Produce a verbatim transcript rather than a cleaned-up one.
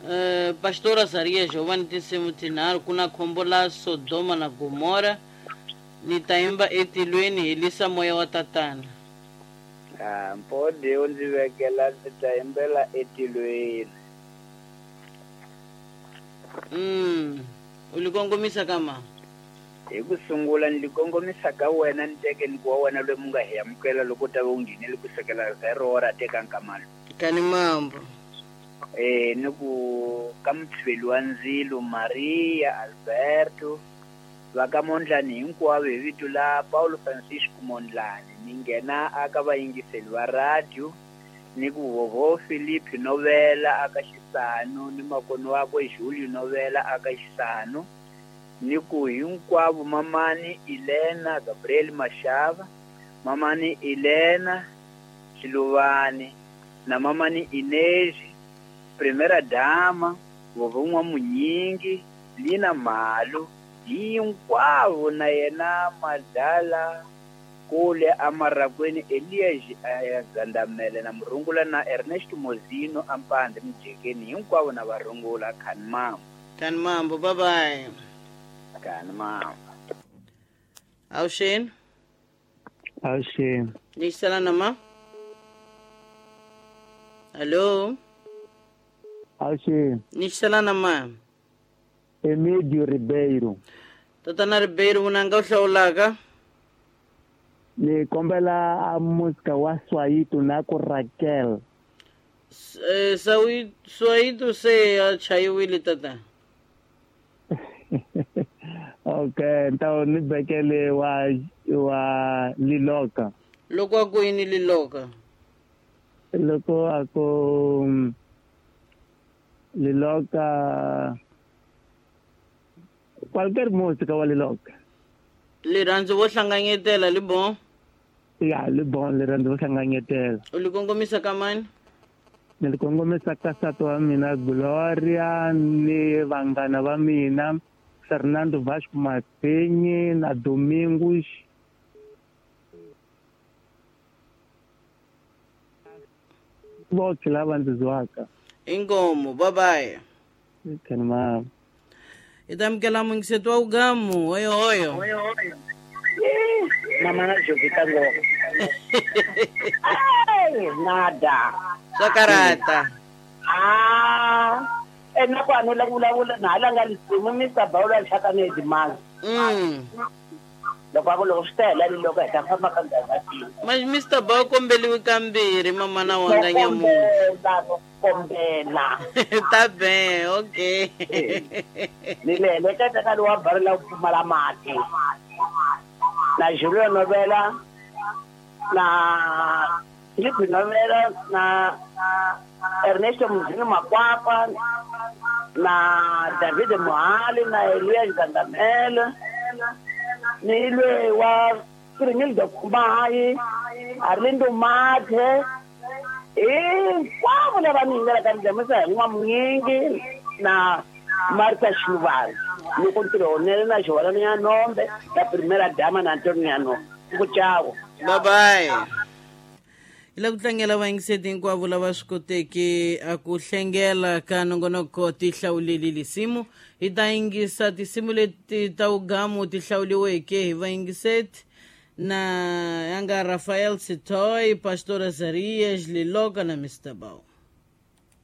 Uh, Pastor Azaria Giovanni tinsimu tinharhu ku na khombo la Sodoma na Gomora ni ta yimba etilweni helisa moya wa tatana. Ah, mpode u ndzi vekela ndzi ta yimbela etilweni. Mm, u li kongomisa ka ma? Hi ku sungula ni li kongomisa ka wena ni teke ni ku wa wena loyi mu nga hi amukela loko u ta va u nghenele ku sukela zero ra teka nkamalo. Kani mambo. Eh ni ku ka mutshiveli wa ndzilo Maria Alberto va ka Mondlani hinkwavo hi vito la Paulo Francisco Mondlani ni nghena aka vayingiseli va radio ni ku vovo Philip Novela aka Xisanu ni makono wakwe Julio Novela aka Xisanu ni ku hinkwavo mamani Elena Gabriel Mashava mamani Elena Xiluvani na mamani Inez Primera Dama vovon'wa Munyingi Lina Malu hinkwavo na yena Madala kule amarakweni Elias Gandamele na Murungula na Ernest Mozino ampande Mjekeni hinkwavo na varungula khani mambo. Khani mambo, bye bye. Khani mambo. Awuxeni. Awuxeni. Ni na ma? Hello. Awuxeni. Ni na ma? Emídio Ribeiro. Tatana Ribeiro vunanga u hlawulaka? Ni kombela a música wa Swayito na ku Raquel. Eh, Swayito se a chayiwile tata. Okay, ntawo ni bekele wa wa Liloka. Loko a ku yini Liloka? Loko a ku Liloka qualquer música wa Liloka. Rirhandzu vo hlanganyetela li bon? Ya, li bon, rirhandzu vo hlanganyetela. U li kongomisa ka mani? Ni li kongomisa ka nsati wa mina Gloria ni vanghana va mina Fernando Vasco Mapenyi na Domingos voke lava ndzi zwaka. Inkomo, bye bye. Khani mama. Hi ta amukela muyingiseti wa Ugamu. Hoyo hoyo. Mama na Jovita ngoko. Ai, nada. Swa karata. Ah, ena ku anu la vulavula na hala nga lisimu Mister Bawula Nhlaka ni Edimanga. Mm. Loko a ku loko swi ta hela ni loko hi ta famba ka ndhawu. Ma Mister Bawu kombeliwe kambirhi mama na wanga nyamuntlha. Kombela. Ta be, okay. Ni le heleketa ka lowa bari la ku pfumala mati. Na Julio Novela na Filipe Novela na Ernesto Muzini Makwapa na David Mohali na Elias Gandamele ni lwe wa Kiringildo Kumayi Arlindo Mathe hinkwavo lava ni yingelaka ni dlamisa hi N'wamunyingi na Martha Xiluvani ni ku ntirho wunene na Xiholana ya Nombe na Primera Dama na Antonio ya Nombe ku chavo. Bye bye. Hi la ku tlangela vayingiseti hinkwavo lava swi koteke a ku hlengela ka nongonoko ti hlawuleli lisimu. Hi ta yingisa tinsimu leti ta Ugamu ti hlawuliweke hi vayingiseti na ya nga Rafael Sitoy, Pastor Azarias, Liloka na Mister Bao.